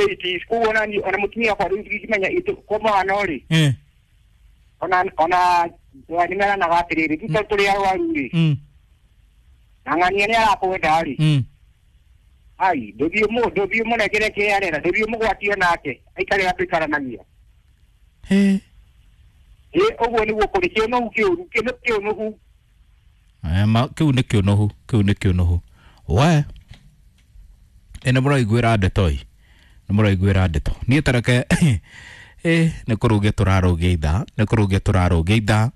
80s koguo nani ona mũtumia wakwa rĩu ndingĩmenya kwa mũhano rĩ, ona nĩmeranaga atĩrĩrĩ, ti tondũ tũrĩ arwaru rĩ, na ng'ania nĩ arakwenda rĩ, ai ndũthiĩ mũnengere kĩrĩa arenda, ndũthiĩ mũgwatio nake aikare atũikaranagia. Ũguo nĩguo kũrĩ kĩũnũhu kĩũru, kĩũnũhu. Kĩu nĩ kĩũnũhu, kĩu nĩ kĩũnũhu. We nĩ mũraiguĩra ndeto ĩ, nĩ mũraiguĩra ndeto. Niĩ tareke nĩ kũrũgia tũrarũgia ithaa, nĩ kũrũgia tũrarũgia ithaa.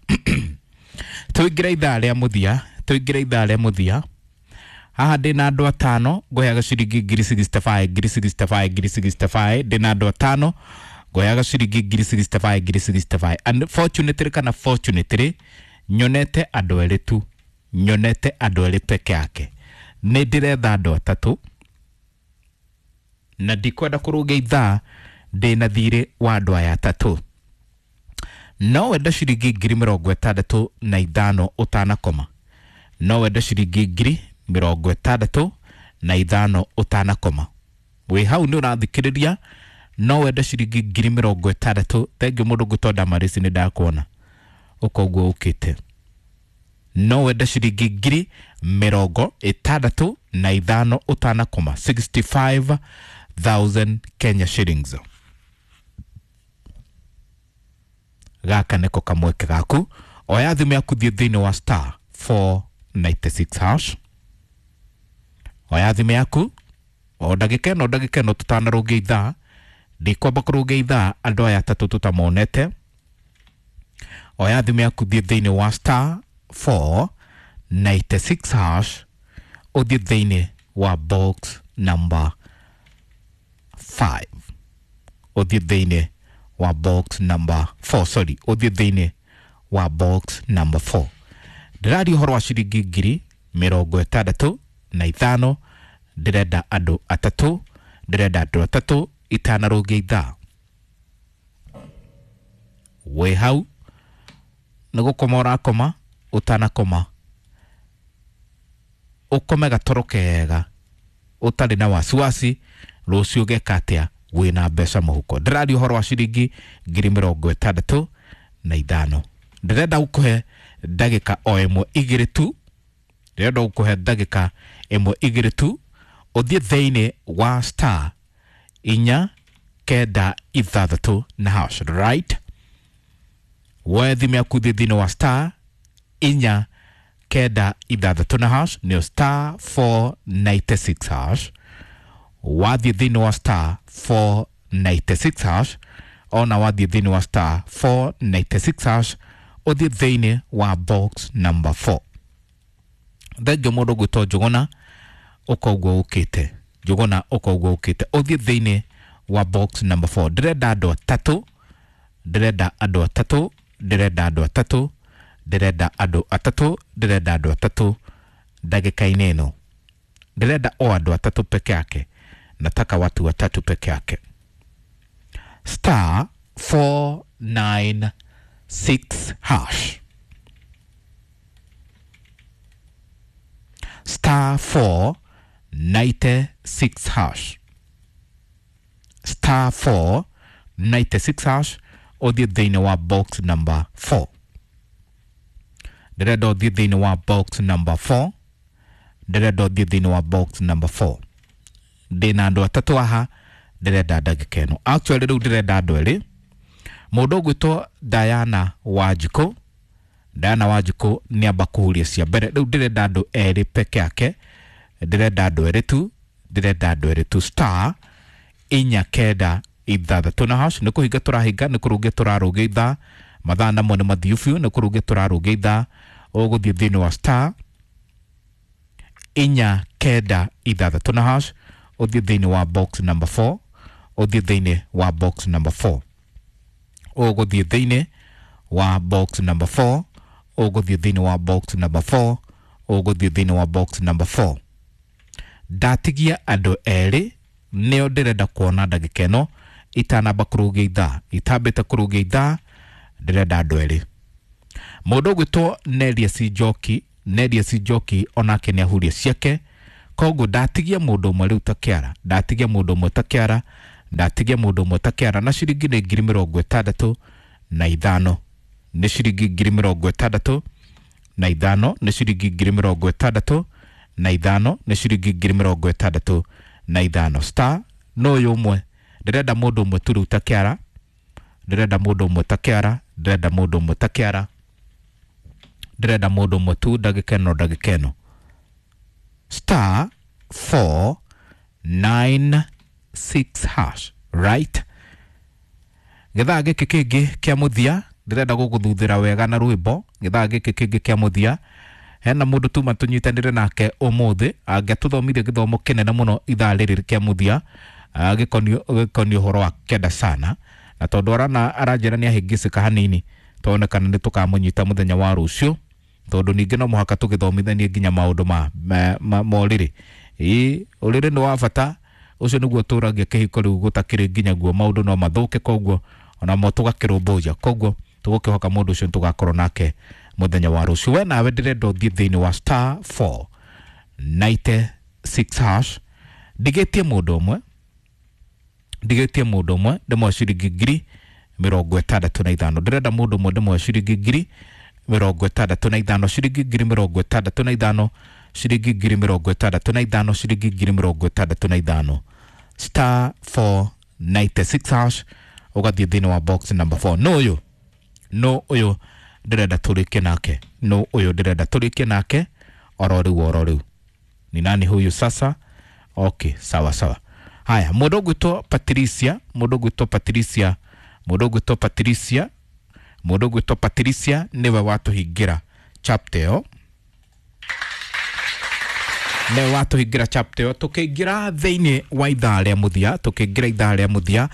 Tũingĩre ithaa rĩa mũthia, tũingĩre ithaa rĩa mũthia. Haha ndĩna andũ atano ngũheaga ciringi ngiri 65, ngiri 65, ngiri 65. Ndĩna andũ atano ngũheaga ciringi ngiri 65, ngiri 65. Unfortunately kana fortunately nyonete andũ erĩ tu, nyonete andũ erĩ peke yake. Nĩ ndĩretha andũ atatũ na ndikwenda kũrũgia ithaa ndĩna thirĩ wa andũ aya atatũ. No wende ciringi ngiri 65 ũtanakoma, no wende ciringi ngiri 65 ũtanakoma. Wĩ hau nĩ ũrathikĩrĩria, no wende ciringi ngiri 60. Thengiũ mũndũ ngũtwo Damarisi, nĩ ndakuona ũkoguo ũkĩte. No wende ciringi ngiri 65 ũtanakoma, 65,000 Kenya shillings. Gaka nĩko kamweke gaku. Oya thimũ yaku, thiĩ thĩinĩ wa star 496 hash. Oya thimũ yaku o ndagĩka ĩno, ndagĩka ĩno tũtanarũngia ithaa. Ndikwamba kũrũngia ithaa andũ aya atatũ tũtamonete. Oya thimũ yaku, thiĩ thĩinĩ wa star 496 hash, ũthiĩ thĩinĩ wa box number 5, ũthiĩ thĩinĩ wa box number 4, sorry, ũthiĩ thĩinĩ wa box number 4. Ndĩraria ũhoro wa ciringi ngiri 65. Ndĩrenda andũ atatũ, ndĩrenda andũ atatũ itanarũngia ithaa. Wĩ hau nĩ gũkoma ũrakoma, ũtanakoma ũkome gatoro kega ũtarĩ na wasiwasi rũciũ ũgeka atĩa wĩna mbeca mũhuko. Ndĩraria ũhoro wa ciringi ngiri 65. Ndĩrenda gũkũhe ndagĩka o ĩmwe igĩrĩ tu, ndĩrenda gũkũhe ndagĩka ĩmwe igĩrĩ tu ũthiĩ thĩinĩ wa star 496 na hash, right? Woe thimũ yaku, thiĩ thĩinĩ wa star 496 na hash, nĩyo star 496 hash. Wathiĩ thĩinĩ wa star 496 hash, ona wathiĩ thĩinĩ wa star 496 hash, ũthiĩ thĩinĩ wa box number 4. Thengio mũndũ gwĩtwo Njũgũna, ũkoguo ũkĩte Njũgũna, ũkoguo ũkĩte, ũthiĩ thĩinĩ wa box number 4. Ndĩrenda andũ atatũ, ndĩrenda andũ atatũ, ndĩrenda andũ atatũ, ndĩrenda andũ atatũ, ndĩrenda andũ atatũ ndagĩka-inĩ ĩno. Ndĩrenda o andũ atatũ peke yake, nataka watu watatu peke yake. Star 496 hash, star 496 hash, star 496 hash, ũthiĩ thĩinĩ wa box number 4. Ndĩrenda ũthiĩ thĩinĩ wa box number 4, ndĩrenda ũthiĩ thĩinĩ wa box number 4. Ndĩna andũ atatũ haha ndĩrenda ndagĩka ĩno. Actually rĩu ndĩrenda andũ erĩ. Mũndũ ũgwĩtwo Diana Wanjikũ, Diana Wanjikũ nĩ amba kũhuria cia mbere. Rĩu ndĩrenda andũ erĩ peke yake, ndĩrenda andũ erĩ tu, ndĩrenda andũ erĩ tu. Star 496 na hash. Nĩ kũhinga tũrahinga, nĩ kũrũngia tũrarũngia ithaa. Mathaa namo nĩ mathiu biũ, nĩ kũrũngia tũrarũngia ithaa. Ũgũthiĩ thĩinĩ wa star 496 na hash, ũthiĩ thĩinĩ wa box number 4, ũthiĩ thĩinĩ wa box number 4, ũgũthiĩ thĩinĩ wa box number 4, ũgũthiĩ thĩinĩ wa box number 4, ũgũthiĩ thĩinĩ wa box number 4. Ndatigia andũ erĩ nĩo ndĩrenda kuona ndagĩka ĩno itanamba kũrũgia ithaa, itambĩte kũrũgia ithaa. Ndĩrenda andũ erĩ. Mũndũ ũgwĩtwo Nelius Njoki, Nelius Njoki onake nĩ ahuria ciake, koguo ndatigia mũndũ ũmwe rĩu ta kĩara, ndatigia mũndũ ũmwe ta kĩara. Ndatigia mũndũ ũmwe ta kĩara na ciringi nĩ 65,000, nĩ ciringi 65,000, nĩ ciringi 65,000, nĩ ciringi 65,000. Star no ũyũ ũmwe, ndĩrenda mũndũ ũmwe tu rĩu ta kĩara, ndĩrenda mũndũ ũmwe ta kĩara, ndĩrenda mũndũ ũmwe ta kĩara, ndĩrenda mũndũ ũmwe tu ndagĩka ĩno, ndagĩka ĩno. Star 496 hash, right? Gĩthaa gĩkĩ kĩngĩ kĩa mũthia ndĩrenda gũgũthuthĩra wega na rwĩmbo. Gĩthaa gĩkĩ kĩngĩ kĩa mũthia hena mũndũ tuma tũnyitanĩre nake ũmũthĩ angĩatũthomithia gĩthomo kĩnene mũno ithaa rĩrĩ kĩa mũthia, gĩkoniĩ ũhoro wa kenda sana, na tondũ aranjĩra nĩ ahĩngĩcĩka hanini, tuone kana nĩ tũkamũnyita mũthenya wa rũciũ, tondũ ningĩ no mũhaka tũgĩthomithanie nginya maũndũ ma ũrĩrĩ. Ĩĩ, ũrĩrĩ nĩ wa bata, ũcio nĩguo ũtũragia kĩhiko rĩu gũtakĩrĩ nginya guo maũndũ no mathũke, koguo onamo tũgakĩrũmbũiya, koguo tũgũkĩhoka mũndũ ũcio tũgakorwo nake mũthenya wa rũciũ. We nawe ndĩrenda ũthiĩ thĩinĩ wa star 496 hash, ndigĩtie mũndũ ũmwe, ndigĩtie mũndũ ũmwe ndĩmwe ciringi 65,000. Ndĩrenda mũndũ ũmwe ndĩmwe ciringi 65,000, ciringi 65,000, ciringi 65,000, ciringi 65,000. Star 496 hash, ũgathiĩ thĩinĩ wa box number 4. No ũyũ, no ũyũ ndĩrenda tũrĩkie nake, no ũyũ ndĩrenda tũrĩkie nake oro rĩu, oro rĩu. Ni nani huyu sasa? Okay, sawa sawa. Haya, mũndũ ũgwĩtwo Patricia, mũndũ ũgwĩtwo Patricia, mũndũ ũgwĩtwo Patricia, mũndũ ũgwĩtwo Patricia nĩwe watũhingĩra chapter ĩyo, nĩwe watũhingĩra chapter ĩyo. Tũkĩingĩra thĩinĩ wa ithaa rĩa mũthia, tũkĩingĩra ithaa rĩa mũthia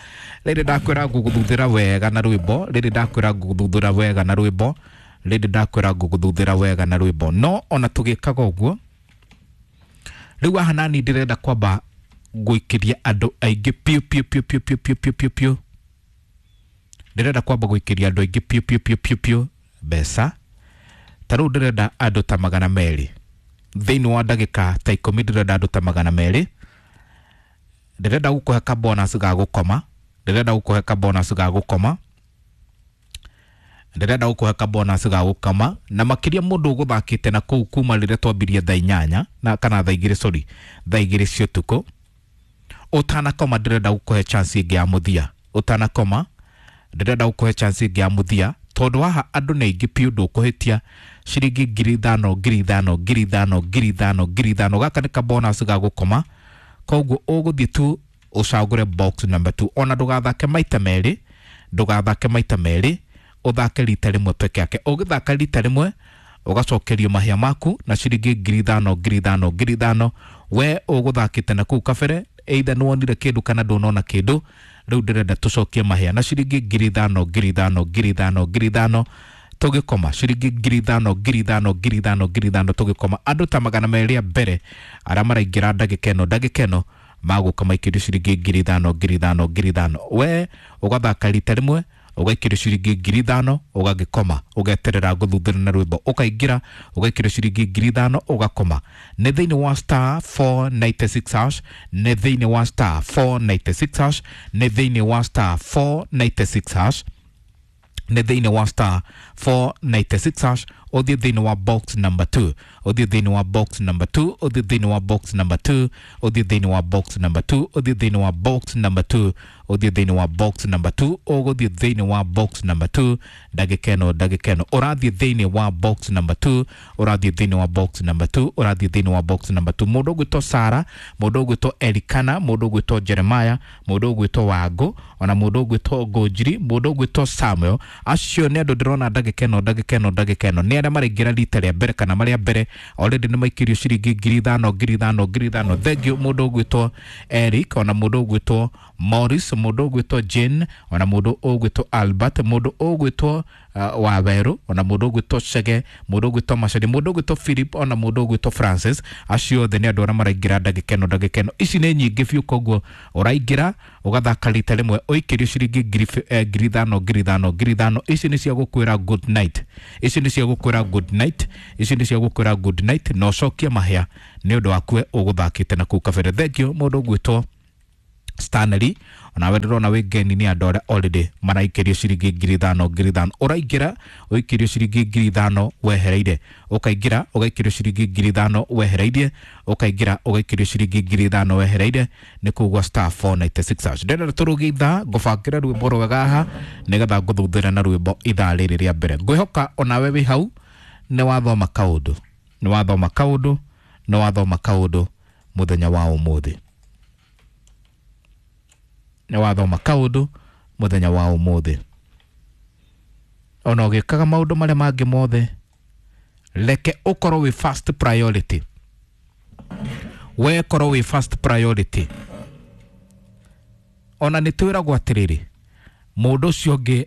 rĩrĩ ndakwĩra ngũgũthuthĩra wega na rwĩmbo, rĩrĩ ndakwĩra ngũgũthuthĩra wega na rwĩmbo, rĩrĩ ndakwĩra ngũgũthuthĩra wega na rwĩmbo. No ona tũgĩkaga ũguo rĩu haha nani ndĩrenda kwamba gũikĩria andũ aingĩ piũ piũ piũ piũ piũ piũ piũ piũ piũ, ndĩrenda kwamba gũikĩria andũ aingĩ piũ piũ piũ piũ piũ mbeca. Ta rĩu ndĩrenda andũ ta 200 thĩinĩ wa ndagĩka ta 10, ndĩrenda andũ ta 200. Ndĩrenda gũkũhe ka bonus ga gũkoma, ndĩrenda gũkũhe ka bonus ga gũkoma, ndĩrenda gũkũhe ka bonus ga gũkoma, na makĩria mũndũ ũgũthakĩte na kũu kuma rĩrĩa twambirie thaa 8 na kana thaa 2, sorry, thaa 2 cia ũtukũ. Ũtanakoma ndĩrenda gũkũhe chance ĩngĩ ya mũthia, ũtanakoma ndĩrenda gũkũhe chance ĩngĩ ya mũthia, tondũ haha andũ nĩ aingĩ piũ, ndũkũhĩtia ciringi 5,000, 5,000, 5,000, 5,000, 5,000. Gaka nĩ ka bonus ga gũkoma, koguo ũgũthiĩ tu ũcagũre box number 2. Ona ndũgathake maita merĩ, ndũgathake maita merĩ, ũthake rita rĩmwe peke yake. Ũgĩthaka rita rĩmwe ũgacokerio mahĩa maku na ciringi 5,000, 5,000, 5,000. We ũgũthakĩte na kũu kabere, either nĩwonire kĩndũ kana ndũnona kĩndũ, rĩu ndĩrenda tũcokie mahĩa na ciringi 5,000, 5,000, 5,000, 5,000 tũgĩkoma, ciringi 5,000, 5,000, 5,000, 5,000 tũgĩkoma. Andũ ta 200 a mbere arĩa maraingĩra ndagĩka ĩno, ndagĩka ĩno magũka maikĩrio ciringi 5,000, 5,000, 5,000. We ũgathaka rita rĩmwe ũgaikĩrio ciringi 5,000, ũgagĩkoma, ũgeterera gũthuthĩra na rwĩmbo, ũkaingĩra ũgaikĩrio ciringi 5,000, ũgakoma. Nĩ thĩinĩ wa star 496 hash, nĩ thĩinĩ wa star 496 hash, nĩ thĩinĩ wa star 496 hash, nĩ thĩinĩ wa star 496 hash. Ũthiĩ thĩinĩ wa box number 2, ũthiĩ thĩinĩ wa box number 2, ũthiĩ thĩinĩ wa box number 2, ũthiĩ thĩinĩ wa box number 2, ũthiĩ thĩinĩ wa box number 2, ũthiĩ thĩinĩ wa box number 2, ũgũthiĩ thĩinĩ wa box number 2 ndagĩka ĩno, ndagĩka ĩno ũrathiĩ thĩinĩ wa box number 2, ũrathiĩ thĩinĩ wa box number 2, ũrathiĩ thĩinĩ wa box number 2. Mũndũ ũgwĩtwo Sara, mũndũ ũgwĩtwo Elikana, mũndũ ũgwĩtwo Jeremiah, mũndũ ũgwĩtwo Wangũ, ona mũndũ ũgwĩtwo Ngũnjiri, mũndũ ũgwĩtwo Samuel, acio nĩ andũ ndĩrona ndagĩka ĩno, ndagĩka ĩno, ndagĩka ĩno nĩ arĩa maraingĩra rita rĩa mbere kana marĩa mbere already nĩ maikĩrio ciringi 5,000, 5,000, 5,000. Thank you mũndũ ũgwĩtwo Eric, ona mũndũ ũgwĩtwo Morris, mũndũ ũgwĩtwo Jane, ona mũndũ ũgwĩtwo Albert, mũndũ ũgwĩtwo Waweru, ona mũndũ ũgwĩtwo Chege, mũndũ ũgwĩtwo Macari, mũndũ ũgwĩtwo Philip, ona mũndũ ũgwĩtwo Francis. Acio othe nĩ andũ arĩa maraingĩra ndagĩka ĩno, ndagĩka ĩno. Ici nĩ nyingĩ biũ, koguo ũraingĩra ũgathaka rita rĩmwe ũikĩrio ciringi 5,000, 5,000, 5,000. Ici nĩ cia gũkwĩra good night, ici nĩ cia gũkwĩra good night, ici nĩ cia gũkwĩra good night, na ũcokie mahĩa nĩ ũndũ waku we ũgũthakĩte na kũu kabere. Thank you mũndũ ũgwĩtwo Stanley onawe ndĩrona wĩ ngeni nĩ andũ arĩa already maraikĩrio ciringi 5,000 5,000. Ũraingĩra ũikĩrio ciringi 5,000 wehereire, ũkaingĩra ũgaikĩrio ciringi 5,000 wehereirie, ũkaingĩra ũgaikĩrio ciringi 5,000 wehereire. Nĩ kũgwa star 496 hash. Ndĩrenda tũrũgie ithaa ngũbangĩre rwĩmbo rwega haha nĩgetha ngũthuthĩre na rwĩmbo ithaa rĩrĩ rĩa mbere. Ngwĩhoka onawe wĩ hau nĩ wathoma kaũndũ, nĩ wathoma kaũndũ, nĩ wathoma kaũndũ mũthenya wa ũmũthĩ, nĩ wathoma kaũndũ mũthenya wa ũmũthĩ. Ona ũgĩkaga maũndũ marĩa mangĩ mothe, reke ũkorwo wĩ first priority, we korwo wĩ first priority. Ona nĩ twĩragwo atĩrĩrĩ, mũndũ ũcio ũngĩ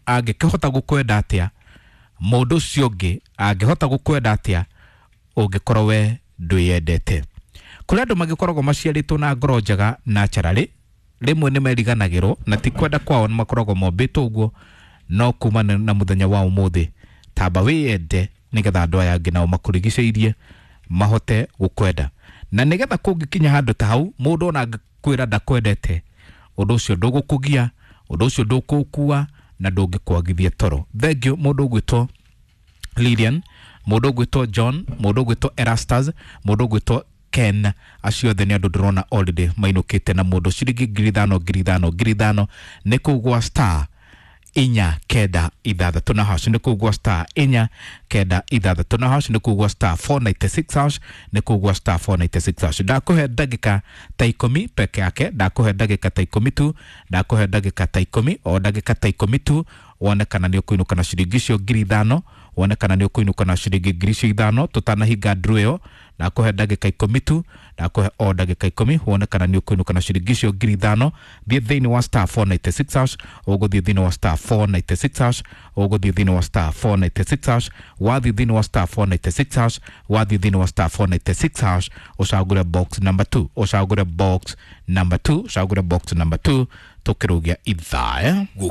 angĩkĩhota gũkwenda atĩa, mũndũ ũcio ũngĩ angĩhota gũkwenda atĩa ũngĩkorwo we ndwĩyendete. Kũrĩ andũ magĩkoragwo maciarĩtwo na ngoro njega naturally, rĩmwe nĩ meriganagĩrwo na ti kwenda kwao, nĩ makoragwo mombĩtwo ũguo, no kuma na mũthenya wa ũmũthĩ tamba wĩyende nĩgetha andũ aya angĩ nao makũrigicĩirie mahote gũkwenda. Na nĩgetha kũngĩkinya handũ ta hau, mũndũ ona angĩkwĩra ndakwendete, ũndũ ũcio ndũgũkũgia, ũndũ ũcio ndũkũkua na ndũngĩkwagithia toro. Thank you mũndũ ũgwĩtwo Lilian, mũndũ ũgwĩtwo John, mũndũ ũgwĩtwo Erastus, mũndũ ũgwĩtwo Ken, acio othe nĩ andũ ndĩrona already mainũkĩte na mũndũ ciringi 5,000 5,000 5,000. Nĩ kũu gwa star 496 na hash, nĩ kũu gwa star 496 na hash, nĩ kũu gwa star 496 hash, nĩ kũu gwa star 496 hash. Ndakũhe ndagĩka ta 10 peke yake, ndakũhe ndagĩka ta 10 tu, ndakũhe ndagĩka ta 10, o ndagĩka ta 10 tu, wone kana nĩ ũkũinũka na ciringi icio 5,000, wone kana nĩ ũkũinũka na ciringi 5,000 tũtanahinga nduru ĩyo. Ndakũhe ndagĩka 10 tu, ndakũhe o ndagĩka 10 wone kana nĩ ũkũinũka na ciringi icio 5,000. Thiĩ thĩinĩ wa star 496 hash, ũgũthiĩ thĩinĩ wa star 496 hash, ũgũthiĩ thĩinĩ wa star 496 hash, wathiĩ thĩinĩ wa star 496 hash, wathiĩ thĩinĩ wa star 496 hash, ũcagũre box number 2, ũcagũre box number 2, ũcagũre box number 2, tũkĩrũgia ithaa.